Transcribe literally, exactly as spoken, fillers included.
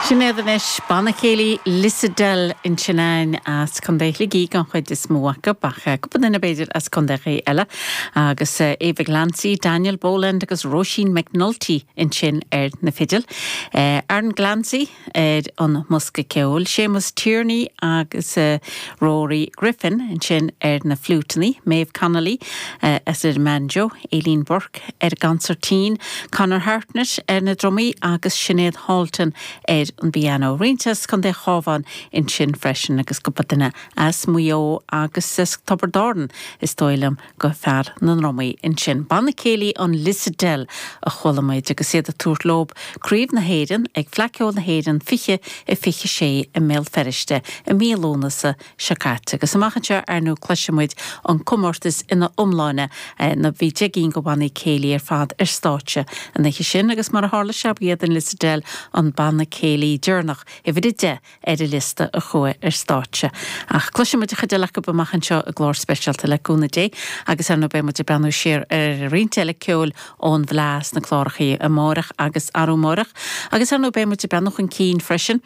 Sinéad anois banna céilí Lissadell ansin as Contae Shligigh an chuid is mó acu ach cúpla duine b'fhéidir as contaetha eile agus Eva Glancy, Daniel Boland agus Roisin McNulty ansin ar na fidil. Aaron Glancy ar an mbosca ceoil, Seamus Tierney agus Rory Griffin ansin ar na fliúiteanna, Maeve Connolly as ar banjo, Aileen Burke ar gconsairtín, Conor Hartnett ar na drumaí agus Sinéad Halton ar an bpianó. Roinnt as Contae an Chabháin ansin freisin agus cúpla duine as Maigh Eo agus as Tiobraid Árann is dóigh liom go fear na ndrumaí ansin. Banna céilí an Lissadell a chuala muid agus iad ag tabhairt leo Craobh na hÉireann ag Fleadh Cheoil na hÉireann fiche a fiche sé i mBéal Feirste i mí Lúnasa seo caite agus amach anseo ar ndóigh cloisfimid an comórtas ina iomláine na bhí deich gcinn de bhannaí céilí ar fad ar stáitse an oíche sin agus mar a tharla sé b'iad an Lissadell an banna céilí deireanach uimhir a deich ar an liosta a chuaigh ar stáitse. Ach cloisfimid an chuid eile acu amach anseo i gclár speisialta le cúnamh Dé agus ar ndóigh beidh muid ag breathnú siar ar roinnt eile ceoil ón bhFleadh sna cláracha amárach agus arú amárach, agus ar ndóigh beidh muid ag breathnú chun cinn freisin